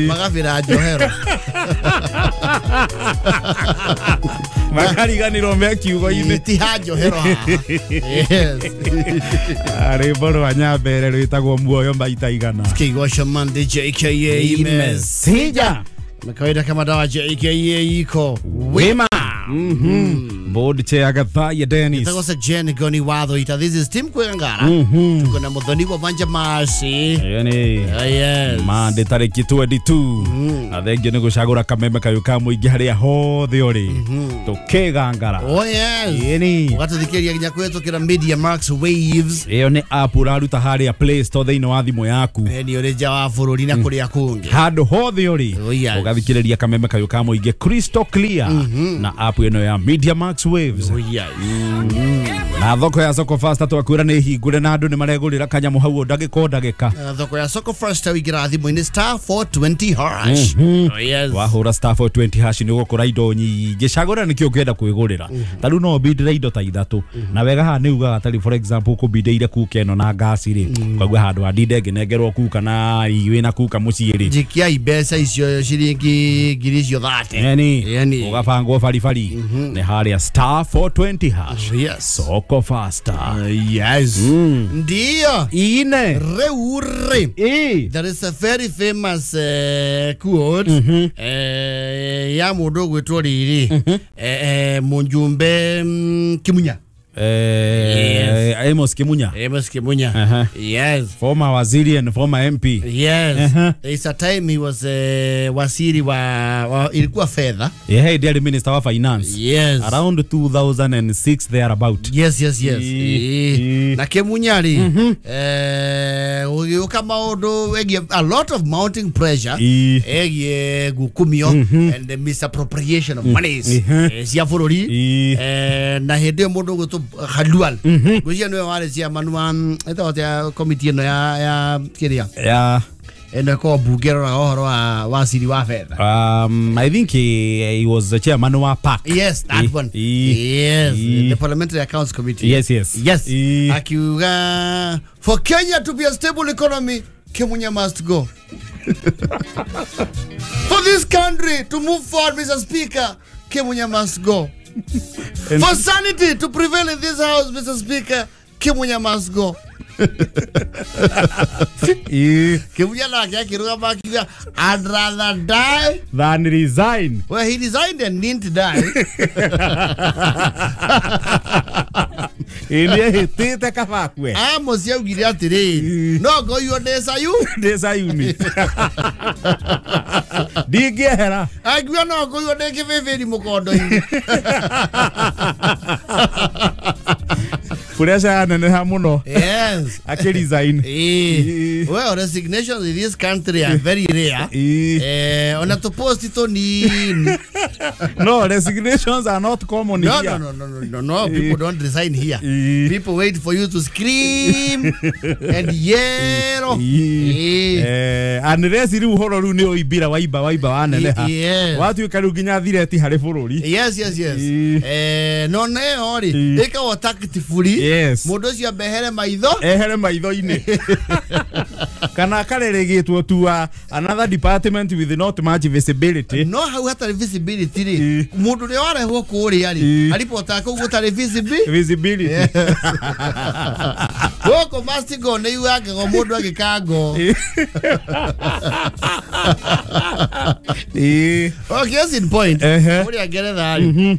Magabira njohero. Makariganirwo me kiugo-inĩ. Ti ha njohero haha. Yes. Rwĩmbo rwa Nyambere rwĩtagwo muoyo maita igana. Kigosha Monday JKA Imesija. Na kawaida kama dawa JKA iko wima. Board chair Gathaya Dennis. Itagosa Jen Goni Watho ita. This is Tim Kwengara. Tuko na Muthoni wa Banja Masi. Yani. Yes. Mande tariki 22. Na thengio nĩ gũcagũra kameme kayũ ka mũingĩ harĩa hothe ũrĩ. Tũkĩgangara. Oh yes. Yani. Ũgatũthikĩrĩria nginya kũhetũkĩra Media Max Waves. Ĩyo nĩ app ũraruta harĩa Play Store thĩinĩ wa thimũ yaku. Nĩ ũrĩ nja wa bũrũri na kũrĩa kũngĩ. Handũ hothe ũrĩ. Oh yes. Ũgathikĩrĩria kameme kayũ ka mũingĩ crystal clear. Na app ĩno ya Media Max Waves. Oh yes. Na thoko ya Soko Fasta twakwĩra nĩ hingũre na andũ nĩ maregũrĩra kanyamũ hau ndagĩka o ndagĩka. Thoko ya Soko Fasta wĩingĩraga thimũ-inĩ star 420 hash. Oh yes. Wahũra star 420 hash nĩ ũgũkora indo nyingĩ. Cagũra nĩkĩo ũngĩenda kwĩgũrĩra. Ta rĩu no ũbindĩre indo ta ithatũ. Na wega haha nĩ ugaga tarĩ for example ũkũbindĩire kuka ĩno na ngasi rĩ. Ũkaigua handũ ha ndinde ngĩnengerwo kuka na wĩna kuka mũciĩ rĩ. Jikiai mbeca icio ciringi ngiri icio 30. Yani. Ũgabangwo baribari. Nĩ harĩa star 420 hash. Yes. Soko Fasta. Yes. Ndio. Ine. Reure. There is a very famous quote. Ya mundu gwitwo riri. Munjumbe Kimunya. Yes. Amos Kimunya. Amos Kimunya. Yes. Former waziri and former MP. Yes. There is a time he was waziri wa ilikuwa fedha. Yeah, he did minister of finance. Yes. Around 2006 thereabout. Yes, yes, yes. Na Kimunya ri ugiuka maundu egie a lot of mounting pressure egie gukumio and the misappropriation of monies cia bururi na hindi yo mundu gwitwo Khalwal ngwĩciria nĩwe warĩ chairman wa ĩtagwo atĩa committee ĩno ya kĩrĩa ya ĩno ĩkoragwo mbunge ĩroraga ũhoro wa waziri wa fedha. I think he was the chairman wa PAC. Yes, that one. Yes, the Parliamentary Accounts Committee. Yes, yes. Yes. Akiuga for Kenya to be a stable economy, Kimunya must go. For this country to move forward, Mr. Speaker, Kimunya must go. For sanity to prevail in this house, Mr. Speaker, Kimunya must go. Kimunya nake akirugama akiuga, I'd rather die than resign. Well, he resigned and didn't die. Ĩnĩehĩtĩte kabakwe. Amos augire atĩrĩrĩ, no ngoiywo ndĩ Sayuni. Ndĩ Sayuni. Ndingĩehera. Akiuga no ngoiywo ndĩ kĩbĩbĩri mũkondo-inĩ. Pressure yaneneha mũno. Yes. Akĩresign. Well, resignations in this country are very rare. Ona tũposti tũnini. No, resignations are not common no, here. No. People don't resign here. People wait for you to scream and yell. Unless rĩu ũhoro rĩu nĩ ũimbira waimba waneneha. Watuĩka rĩu nginya thireti harĩ bũrũri. Yes, yes, yes. No neo rĩ ĩkagwo tactfully. Yes. Mundu ucio ambehere maitho. Ehere maitho-inĩ. Kana akareregĩtwo to another department with not much visibility. No hau hatarĩ visibility rĩ. Mundu ũrĩa warehwo kũrĩa rĩ aripotaga kũu gũtarĩ visibility. Gũkũ must go nĩ yugagwo mũndũ agĩkango. Okay, yes, in point. Kũrĩa Ngeretha rĩ.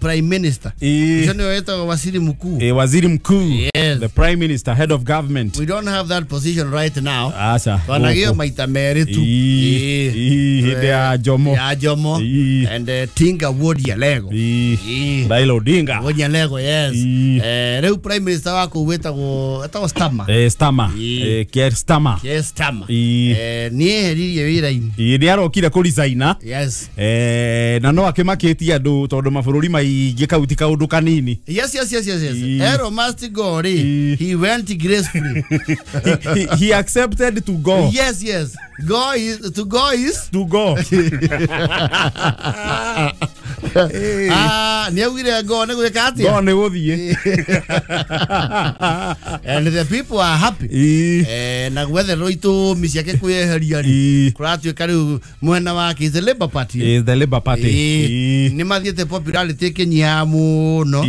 Prime Minister. Waziri Mkuu. Waziri Mkuu. Yes. The Prime Minister, head of government. We don't have that position right now. Acha. Twanagio maita merĩ tu. Hĩndĩ ya Jomo. Ya Jomo. And Tinga Ward Yalego. Raila Odinga. Ward Yalego, yes. Rĩu Prime Minister wako wetagwo Starmer. Starmer. Keir Starmer. Keir Starmer. Nĩeheririe wĩra-inĩ. Nĩ arokire kũresigna. Yes. Na no akĩmakĩtie andũ tondũ mabũrũri maingĩ kau ti kaũndũ kanini. Yes, yes, yes, yes, yes. Ero must go rĩ. He went gracefully. He accepted to go. Yes, yes. Go is to go is to go. Ah, nĩ augire ngo nĩ gwĩka atĩa? Ngo nĩ gũthiĩ. And the people are happy. Na gwetherwo itũmi ciake kwĩyeheria rĩ, kũratuĩka rĩu mwena wake is the Labour Party. Is the Labour Party. Nĩ mathiĩte popularity ĩkĩnyiha mũno.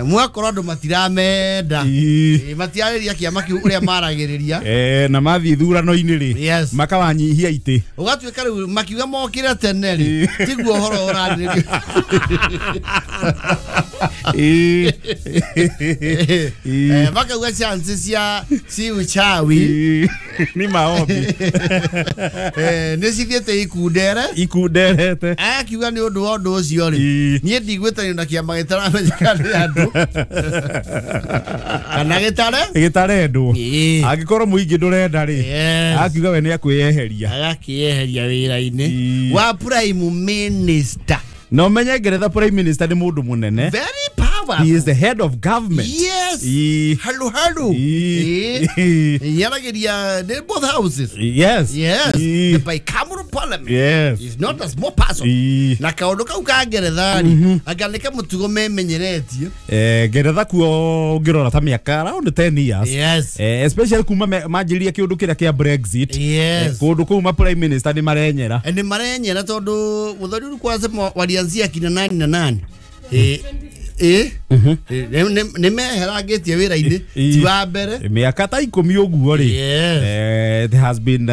Mwakorwo andũ matiramenda. Matiarĩria kĩama kĩu ũrĩa maragĩrĩria. Na mathiĩ ithurano-inĩ rĩ, makawanyihia itĩ. Ũgatuĩka rĩu makiuga mokĩre tene rĩ, tiguo ũhoro ũrarĩrĩrio. Makauga chance cia si uchawi ni maombi. Nĩ cithiĩte ikundere. Ikunderete. Akiuga nĩ ũndũ wa ũndũ ũcio rĩ, niĩ ndigwĩtanio na kĩama gĩtaramenyeka nĩ andũ. Kana gĩtare? Gĩtarendwo. Angĩkorwo mũingĩ ndũrenda rĩ, akiuga we nĩ akwĩyeheria. Agakĩyeheria wĩra-inĩ wa prime minister. No menye Ngeretha prime minister nĩ mũndũ mũnene. Very powerful. He is the head of government. Yes. Hello, hello. Yarageria, they both houses. Yes. Yes. The bicameral parliament. Yes. Is not a small person. Na kaũndũ kau ka Ngeretha rĩ, anga nĩ kamũtugo memenyeretie. Ngeretha kuo ũngĩrora ta mĩaka around 10 years. Yes. Especially kuma manjĩrĩria kĩũndũ kĩrĩa kĩa Brexit. Yes. Kũndũ kũu ma prime minister nĩ marenyera. Nĩ marenyera tondũ mũthoni ũrĩ kwanza walianzia kina nani na nani. Nĩ meherangĩtie wĩra-inĩ ti wa mbere mĩaka ta 10 ũguo rĩ. There has been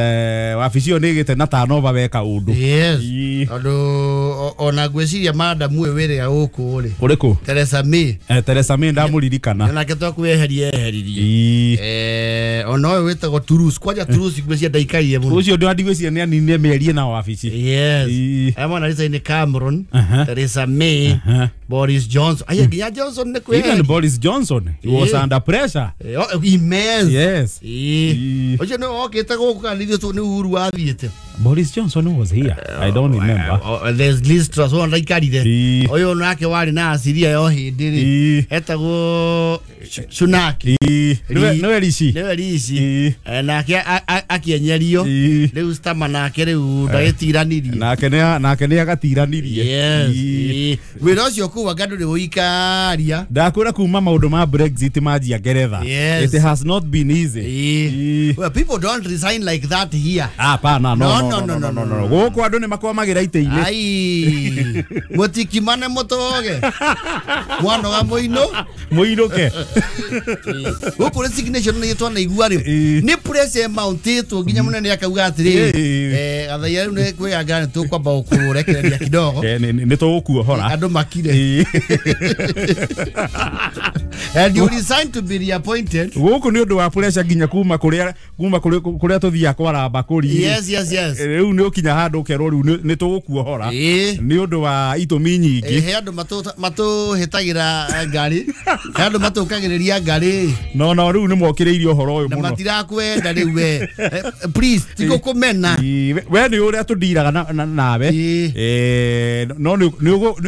wabici ĩyo nĩ ĩgĩte na turnover weka ũndũ. Yes. Tondũ ona ngwĩciria madam ũyũ wĩrĩa gũkũ rĩ, ũrĩkũ? Theresa May. Theresa May ndamũririkana. Nake twakweheria eheririe. Ona ũyũ wĩtagwo Truss, kwanja Truss ngwĩciria ndaikarire mũno. Ũcio ndio ndigwĩciria nĩ aninire mĩarie na wabici. Yes. Aya mwana resign Cameron, Theresa May, Boris Johnson. Aya nginya Johnson nĩ kwĩheria. Even Boris Johnson, he was under pressure. Immense. Yes. Ũcio nĩ okĩte gũkũ kana ithuĩ nĩ Uhuru wathiĩte. Boris Johnson was here. I don't remember. There's Liz Truss ũyũ ndaikarire. Ũyũ nake warĩ na aciria yo hĩndĩ rĩ. Etagwo Sunak. Nĩwe Rishi. Nĩwe Rishi. Nake akĩenyerio. Rĩu Starmer nake rĩu ndagĩtiranirie. Nake nĩ agatiranirie. Yes. Wĩra ũcio kũu anga ndũrĩ ũikaria. Ndakwĩra kuma maũndũ ma Brexit manjia Ngeretha. Yes. It has not been easy. Well, people don't resign like that here. Hapana, no. No. Gũkũ andũ nĩ makwamagĩra itĩ-inĩ. Ai. Mũtikimane mũtoge. Mwanoga mũino. Mũinũke. Gũkũ resignation nĩ twanaigua rĩ. Nĩ pressure mountĩtwo nginya mũnene akauga atĩrĩrĩ. Gathaia rĩu nĩ kwĩyanga nĩ tũkwamba gũkũrekereria kidogo. Nĩ tũgũkuohora. Andũ makire. And you resign to be reappointed. Gũkũ nĩ ũndũ wa pressure nginya kuma kũrĩa tũthiaga kwara mbakũri. Yes, yes, yes. Rĩu nĩ ũkinya handũ ũkerwo rĩu nĩ tũgũkuohora. Nĩ ũndũ wa itũmi nyingĩ. He andũ matũhĩtagĩra ngari. He andũ matũkagĩrĩria ngari. No rĩu nĩ mokĩrĩirie ũhoro ũyũ mũno. Na matirakwenda rĩu we. Please, tigũkũmena. We nĩ ũrĩa tũndiraga nawe. No nĩ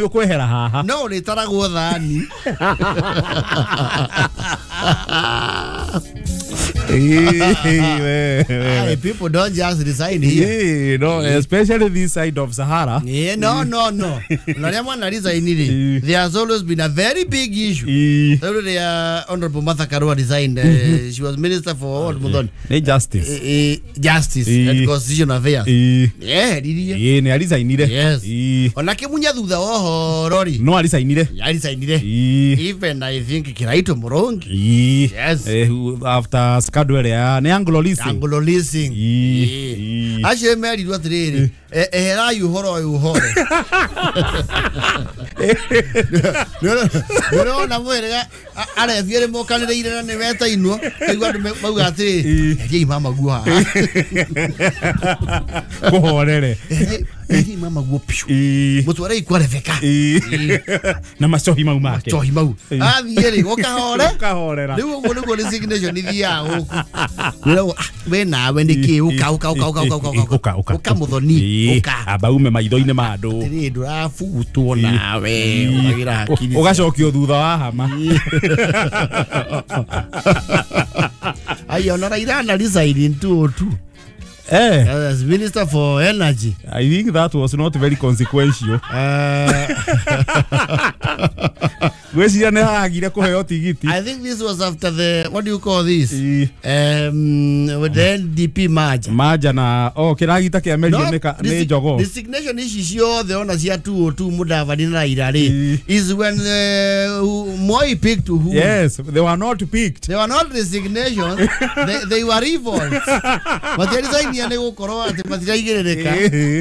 ũkwehera haha. No ũrĩtaragwo thani. Hey, people don't just resign here. Yeah, no, especially this side of Sahara. Yeah, no. There has always been a very big issue. Honorable Martha Karua resigned. She was minister for what? Justice. Justice and Constitutional Affairs. Yeah, yeah, resigned. Yes. Onake munya thutha wohorori. No, resigned. Resigned. Even I think Kiraito Murongi. Yes. After scandal ya ni Anglo Leasing. Anglo Leasing. Acio merirwo atiriri, eherai uhoro uyu uhoro. Nĩũrona mwĩrĩga arebi erĩ mokanĩrĩire na nĩ wetainwo, kaigua andũ mauga atĩrĩ, eheriai mama guo haha. Kũhorere. Eheriai mama guo piũ. Mũtwarei kwa Rebecca. Na macohi mau make. Macohi mau. Athiĩ rĩ, ũkahore. Ũkahorera. Rĩu ũguo nĩguo resignation ithiaga gũkũ. Wĩragwo, we nawe nĩkĩ, ũka ũka ũka ũka ũka ũka ũka ũka ũka mũthoni ũka. Amba ume maitho-inĩ ma andũ. Atĩrĩ ndũrabutwo nawe ũkagĩra hakiri. Ũgacokio thutha wa hama. Ai ona Raila ana resign in 2002. As Minister for Energy. I think that was not very consequential. Gweciria nĩ hagire kũheo tigiti. I think this was after the, what do you call this? With the NDP merger. Merger na kĩragita kĩamerio nĩ jogoo. Resignation ici ciothe ona cia 202 Mudavadi na Raila rĩ is when Moi picked who. Yes, they were not picked. They were not resignations. They were revolts. Matiarisignia nĩ gũkorwo atĩ matiraigĩrĩrĩka.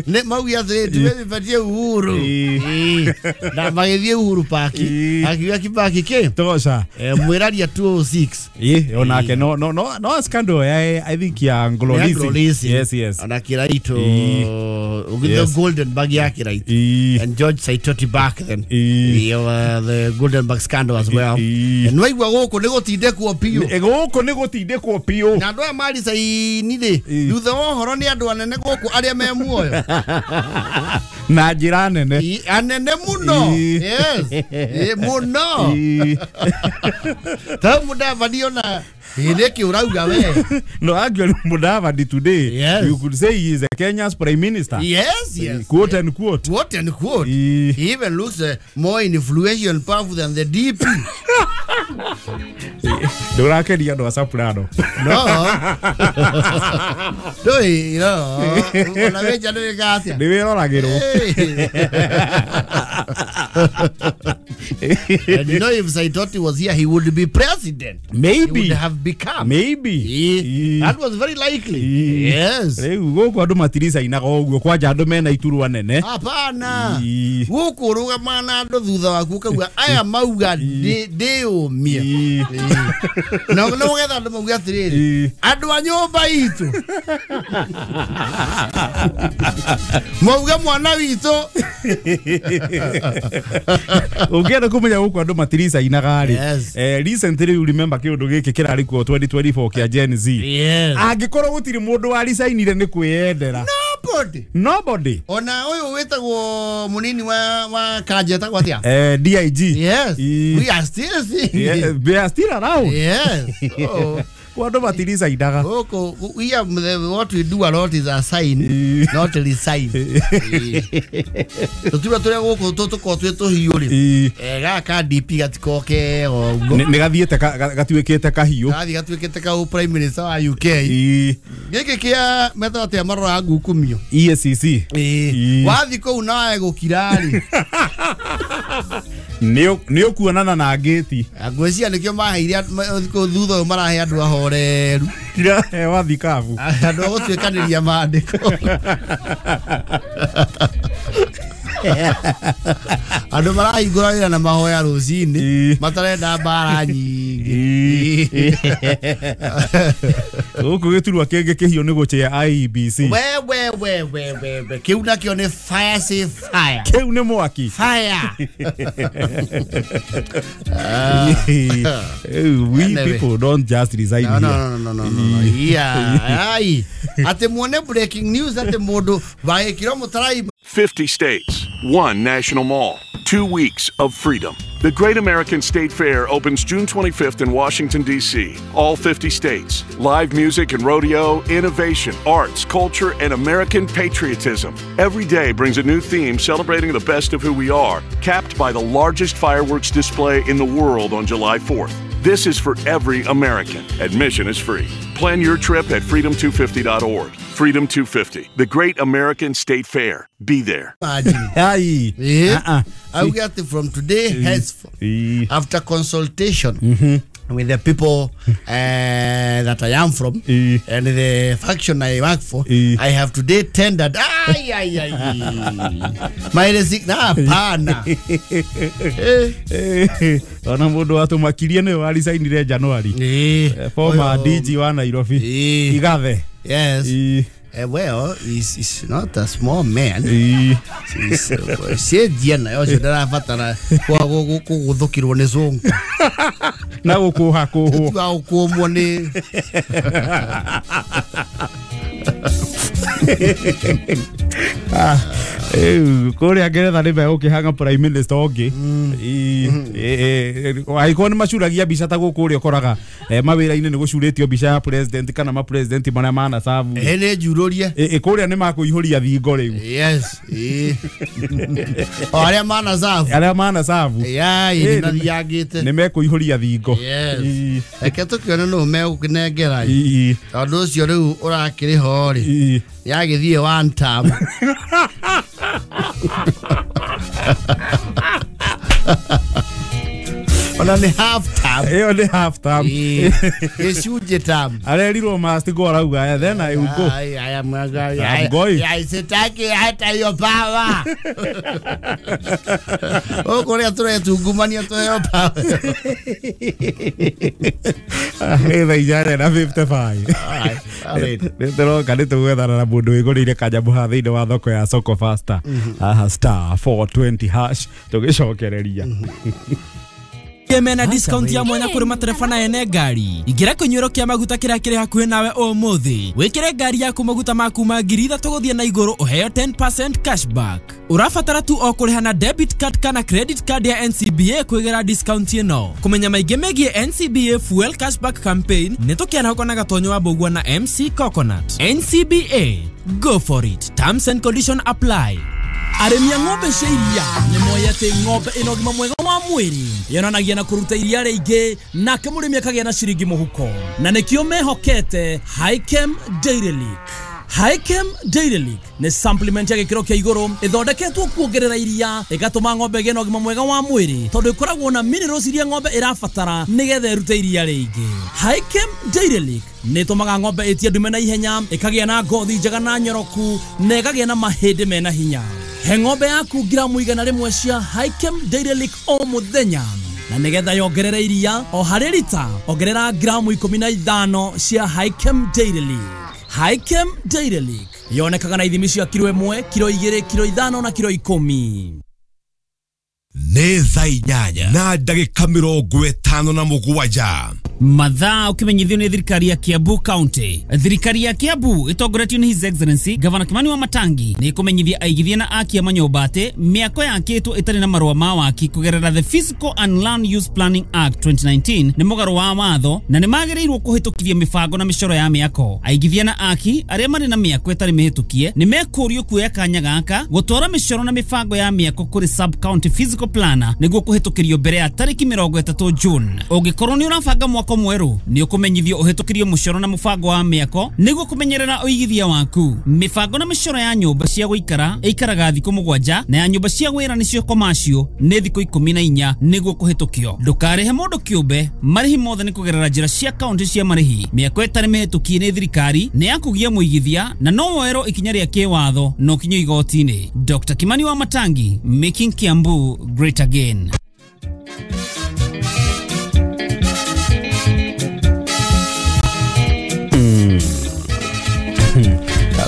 Nĩ mauga atĩrĩ tumebatie Uhuru. Na magĩthiĩ Uhuru Park. Akiuga Kibaki kĩ tosha. Mwĩraria 206. Onake no scandal I think ya Anglo Leasing. Yes, yes. Ona Kiraito with the golden bag ya Kiraito. And George Saitoti back then. The golden bag scandal as well. And waigua gũkũ nĩ gũtindĩkwo biũ. Gũkũ nĩ gũtindĩkwo biũ. Na andũ aya maricaini rĩ thutha wa ũhoro nĩ andũ anene gũkũ arĩa me muoyo. Na njĩra nene. Anene mũno. Yes. Mũno. Ta Mudavadi ona nĩkĩ ũrauga we? No, actually Mudavadi today, yes, you could say he is a Kenya's prime minister. Yes, yes. Quote and quote. Quote and quote. He even looks more influential and powerful than the DP. Ndũrakeria andũ a Soprano. No. Ndũĩ, no. Ona wĩnja nĩwĩkaga atĩa? Nĩwĩroragĩrwo. And you know, if Saitoti was here, he would be president. Maybe. He would have become. Maybe. That was very likely. Yes. Rĩu gũkũ andũ matiricainaga ũguo kwanja andũ mena iturwa nene. Hapana. Gũkũ ũrũgamaga na andũ thutha waku ũkauga aya mauga ndĩũmie. Na nĩgetha andũ mauge atĩrĩrĩ, andũ a nyũmba itũ mauge mwana witũ. Ũngĩenda kũmenya gũkũ andũ matiricainaga rĩ, recently you remember kĩũndũ gĩkĩ kĩrarĩ kuo 2024 kĩa Gen Z. Angĩkorwo gũtirĩ mũndũ waricainire nĩ kwĩyendera. Nobody. Nobody. Ona ũyũ wĩtagwo mũnini wa Kanja etagwo atĩa? DIG. Yes. We are still seeing. Yeah, we are still around. Yes. Andũ matiricainaga. Gũkũ we are, what we do a lot is a sign, not a resign. Tũtirĩa tũrĩa gũkũ tũkorwo twĩ tũhiũ rĩ, gaka DP gatikoke ũguo. Nĩ gathiĩte gatuĩkĩte kahiũ. Gathiĩ gatuĩkĩte ka prime minister wa UK. Gĩkĩ kĩa metagwo atĩa maroraga ngukumio? EACC. Wathiĩ kũu nawe gũkira rĩ, nĩ ũkuonana na ngĩti. Ngwĩciria nĩkĩo maheire kũu thutha ũyũ marahe andũ ahoreru. Tirahewa thikabu. Andũ a gũtuĩkanĩria maandĩko. Andũ marahingũra wĩra na mahoya rũcinĩ matarenda mbara nyingĩ. Gũkũ gĩturwa kĩngĩ kĩhiũ nĩ gũchĩa IEBC. We kĩu nakĩo nĩ fire say fire. Kĩu nĩ mwaki. Fire. We people don't just resign here. No. Yeah. Ai. Atĩ muone breaking news atĩ mũndũ wagĩkĩrwo mũtarai. 50 states, one national mall, 2 weeks of freedom. The Great American State Fair opens June 25th in Washington, D.C. All 50 states. Live music and rodeo, innovation, arts, culture, and American patriotism. Every day brings a new theme celebrating the best of who we are, capped by the largest fireworks display in the world on July 4th. This is for every American. Admission is free. Plan your trip at freedom250.org. Freedom 250, the Great American State Fair. Be there. Aye. I will get it from today henceforth. After consultation with the people that I am from and the faction I work for, I have today tendered. Ay, ay, ay. My resignation. Hapana. Ona mundu atumakirie ni waricainire January. Former DG wa Nairobi. Igathe. Yes. Well, he's not a small man. Cenjia nayo ũcio ndarabatara kũgũthũkĩrwo nĩ cũngũ. Na gũkũha kũhwo. Tiga gũkũmwo nĩ Kũrĩa Ngeretha nĩ megũkĩhanga prime minister ũngĩ. Angĩkorwo nĩ macuragia mbica ta gũkũ ũrĩa ũkoraga mawĩra-inĩ nĩ gũcurĩtio mbica ya president kana ma president marĩa manacabu. Nĩ njurũrie. Kũrĩa nĩ makũihũria thingo rĩu. Yes. O arĩa manacabu. Arĩa manacabu. Nĩ mathiangĩte. Nĩ mekũihũria thingo. Yes. Reke tũkĩone nũ megũkĩnengera. Tondũ ũcio rĩu ũrakĩrĩ ho rĩ. Yagĩthiĩ one term. Ona nĩ half term. Ĩyo nĩ half term. Gĩcunjĩ term. Arerirwo must go arauga then I will go. I'm going. Sitaki hata hiyo power. Ũkũrĩa tũretungumania tũheo power. Thaa 8:55. Nĩtũroka nĩtũgwethana na mũndũ wĩgũrĩire kanyamũ haha thĩinĩ wa thoko ya Soko Faster. Haha star 420 hash tũgĩcokereria. Mena discount ya mwanya kuri matereba na ene ngari. Ingĩra kĩnyuĩro kĩa maguta kĩrĩa kĩrĩ hakuhĩ nawe ũmũthĩ. Wĩkĩre ngari yaku maguta ma kuma 3,000 gũthiĩ na igũrũ ũheo 10% cashback. Ũrabatara tu o kũrĩha na debit card kana credit card ya NCBA kwĩgĩra discount ĩno. Kũmenya maingĩ megiĩ NCBA Fuel Cashback Campaign nĩ tũkĩarahũka na Gatonyo wa Mbũgua na MC Coconut. NCBA, go for it. Terms and condition apply. Arĩmi a ng'ombe cia iria nĩ moĩ atĩ ng'ombe ĩna ũgima mwega wa mwĩrĩ yonanagia na kũruta iria rĩingĩ nake mũrĩmi akagĩa na ciringi mũhuko, na nĩkĩo mehokete Hikem Dairy Leak. Hikem Dairy Leak nĩ supplement ya gĩkĩro kĩa igũrũ ĩthondeketwo kuongerera iria ĩgatũma ng'ombe ĩgĩe na ũgima mwega wa mwĩrĩ tondũ ĩkoragwo na minerals iria ng'ombe ĩrabatara nĩgetha ĩrute iria rĩingĩ. Hikem Dairy Leak nĩ ĩtũmaga ng'ombe ĩtie ndume na ihenya, ĩkagĩa na ngothi njega na nyoroku, na ĩkagĩa na mahĩndĩ mena hinya. He ng'ombe yaku gramu 100 cia Hikem Dairy Leak o mũthenya, na nĩgetha yongerere iria o harĩ rita ongerera gramu 15 cia Hikem Dairy Leak. Hikem Dairy Leak yonekaga na ithimi cia kiro 1, kiro 2, kiro 5 na kiro 10. Nĩ thaa 8:57. Mathaa ukimenyithio nĩ thirikari ya Kiambu County. Thirikari ya Kiambu ĩtongoretio nĩ His Excellency Governor Kimani wa Matangi nĩ ĩkũmenyithia aigithia na akia manyũmba atĩ mĩako yakĩtwo ĩtarĩ na marũa ma waki kũgerera The Physical and Land Use Planning Act 2019 nĩ mũgarũ wa watho na nĩ magĩrĩirwo kũhĩtũkithia mĩbango na mĩcoro ya mĩako. Aigithia na aki arĩa marĩ na mĩako ĩtarĩ mĩhĩtũkie nĩ mekũrio kuoya kanya gaka gũtwara mĩcoro na mĩbango ya mĩako kũrĩ sub county physical planner nĩguo kũhĩtũkĩrio mbere ya tarĩki 30 June. Ũngĩkorwo nĩ ũrabanga mwako mwerũ nĩ ũkũmenyithio ũhĩtũkĩrio mũcoro na mũbango wa mĩako nĩguo kũmenyerera ũigithia waku. Mĩbango na mĩcoro ya nyũmba cia gũikara ĩikaraga thikũ 7 na ya nyũmba cia wĩra nĩcio commercial nĩ thikũ 14 nĩguo kũhĩtũkio. Ndũkarĩhe mũndũ kĩũmbe, marĩhi mothe nĩ kũgerera njĩra cia kaunti cia marĩhi. Mĩako ĩtarĩ mĩhĩtũkie nĩ thirikari nĩ ya kũgia mũigithia na no woerwo ikinya rĩa kĩwatho na ũkinyio igoti-inĩ. Dr. Kimani wa Matangi, making Kiambu great again.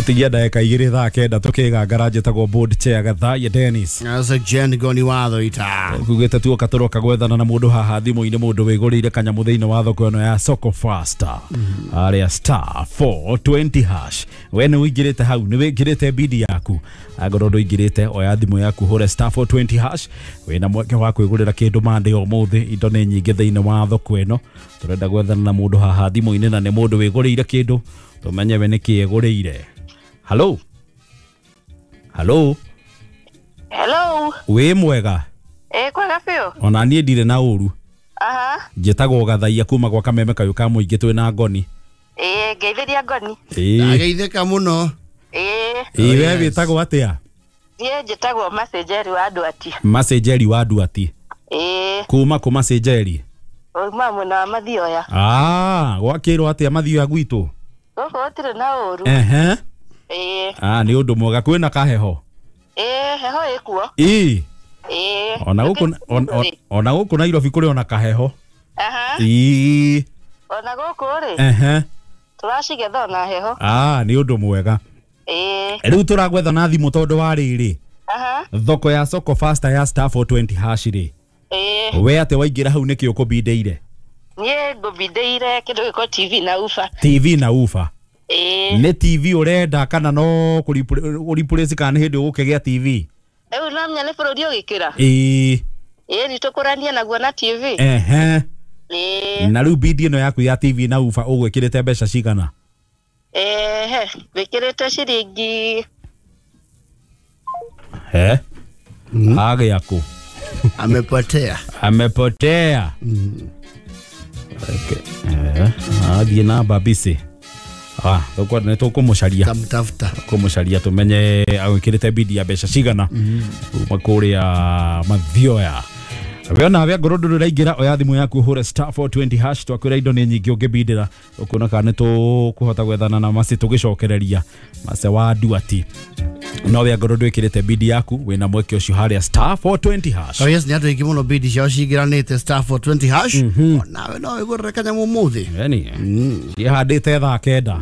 Tigia ndagĩka 2 thaa 9 tũkĩgangara njĩtagwo board chair Gathaiya Dennis. Asa Jen Goni watho ita. Kugĩte tuoka tũroka gwethana na mũndũ haha thimũ-inĩ mũndũ wĩgũrĩire kanyamũ thĩinĩ wa thoko ĩno ya Soko Faster. Arĩa star 420 hash. We nĩ ũingĩrĩte hau, nĩ wĩkĩrĩte bidi yaku. Angorwo ndũingĩrĩte oya thimũ yaku hũre star 420 hash. Wĩna mweke wa kwĩgũrĩra kĩndũ mande ũmũthĩ, indo nĩ nyingĩ thĩinĩ wa thoko ĩno. Tũrenda gwethana na mũndũ haha thimũ-inĩ na nĩ mũndũ wĩgũrĩire kĩndũ tũmenye we nĩkĩ egũrĩire. Hello. Hello. Hello. Wĩ mwega? Kwega biũ. Ona niĩ ndirĩ na ũru. Aha. Njĩtagwo Gathaiya kuma gwa Kameme kayũ ka mũingĩ twĩ na Ngoni. Ngeithĩria Ngoni. Ndageithĩka mũno. We wĩtagwo atĩa? Niĩ njĩtagwo Macenjeri wa Nduati. Macenjeri wa Nduati. Kuma kũ Macenjeri? Uma mwena wa Mathioya. Gwakĩrwo atĩa Mathioya gwitũ? Gũkũ gũtirĩ na ũru. Nĩ ũndũ mwega. Kwĩna kaheho? Heho ĩkuo. Ona gũkũ Nairobi kũrĩ ona kaheho. Ona gũkũ rĩ tũracigetha ona heho. Nĩ ũndũ mwega. Rĩu tũragwetha na thimũ tondũ wa rĩrĩ thoko ya Soko Faster ya star 420 hash rĩ, we atĩ waingĩra hau nĩkĩ ũkũbindĩire? Niĩ ngũbindĩire kĩndũ gĩko TV na ufa. TV na ufa. Ĩĩ. Nĩ TV ũrenda kana no kũripũrĩci kana nĩ hĩndĩ ũgũkĩgĩa TV? Rĩu no menya nĩ bũrũri ũgĩkĩra. Ĩĩ. Ĩĩ nĩtũkũranie naguo na TV. Ehe. Ĩĩ. Na rĩu bidi ĩno yaku ya TV na uba ũgwĩkĩrĩte mbeca cigana? Ehe, wĩkĩrĩte ciringi He? Agĩa kũ? Amepotea. Amepotea. Okay. Athiĩ na babisi. Ah, nĩ tũkũmũcaria. Tamtafuta. Kũmũcaria tũmenye agwĩkĩrĩte bidi ya mbeca cigana kuma kũrĩa Mathioya. We ona we ngorwo ndũrĩ ũraingĩra oya thimũ yaku ũhũre *420 hash twakwĩra indo nĩ nyingĩ ũngĩbindĩra ũkuona kana nĩ tũkũhota gwethana na maci tũgĩcokereria mace wa Duati. No we ngorwo ndwĩkĩrĩte bidi yaku wĩna mweke ũcio harĩa *420 hash. Oh yes, nĩ andũ aingĩ mũno bidi ciao cingĩranĩte *420 hash. Onawe no wĩgũrĩre kanyamũ ũmũthĩ. Yani ciĩhandĩte thaa 9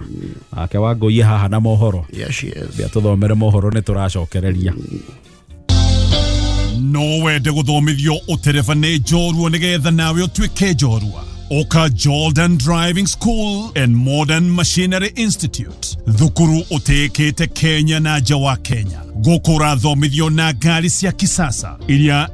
nake Wangũi haha na mohoro. Yes, yes. Bia tũthomere mohoro nĩ tũracokereria. No wende gũthomithio ũtereba nĩ njorua nĩgetha nawe ũtuĩke njorua. Oka Jordan Driving School and Modern Machinery Institute, thukuru ũtĩĩkĩte Kenya na nja wa Kenya. Gũkũ ũrathomithio na ngari cia kisasa iria